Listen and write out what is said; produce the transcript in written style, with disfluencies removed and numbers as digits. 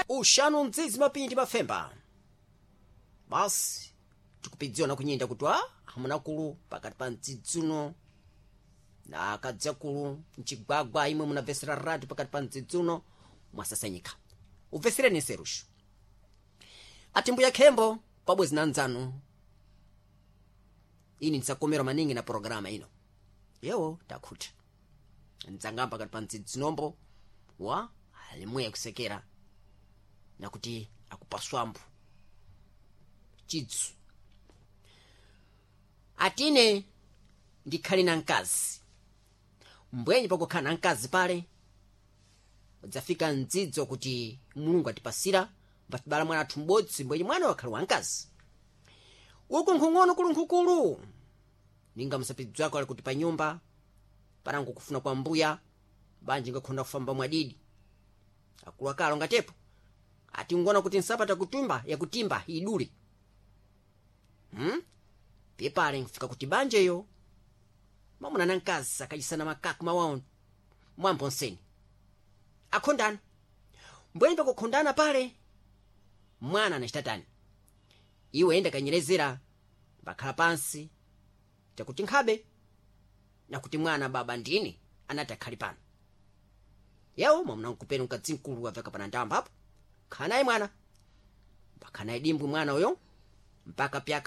Uxanu mdzidzi mapindi mafemba basi tikupidziwa kunyinda kuti a amunakulu pakati pa mdzidzi uno na akadzi akulu mcigwagwa imwe munabvesera radio pakati pa mdzidzi uno mwasasanyika ubvesereni nseruxo ati mbuya khembo pabwezi na ndzanu ini ndisakomerwa maningi na programa ino yewo takhuta ndzangamba pakati pa mdzidzi nombo wa alimweya kusekera nakuti akupaswambo chidzu atine ndikhale na mkazi mbwenye pakukhala na mkazi pale udzafika mdzidzo kuti Mulungu atipasira mbatibala mwana athu m'bodzi mbwenye mwana wakhala wamkazi uku nkhung'ono kulu nkhukulu ninga msapidzi wako ali kuti pa nyumba panango kufuna kwa mbuya banji ngakhonda kufamba mwadidi akulu akalo ngatepo ati ngona kuti nsapata kutumba yakutimba idule Pepale nkufika kuti banjeyo mwamuna na mkazi akachisana makaku mawawo mwambo nseni akhondana mbweni pakukhondana pale mwana anachitatani iwe enda kanyerezera bakhala pansi chakuti nkhabe nakuti mwana baba ndini anati akhali pano yewo mwamuna nkupeni mkadzi mkulu waveka pana ndamba apo khanaye mwana pakhanaye dimbwi mwana uyo mpaka pyaka.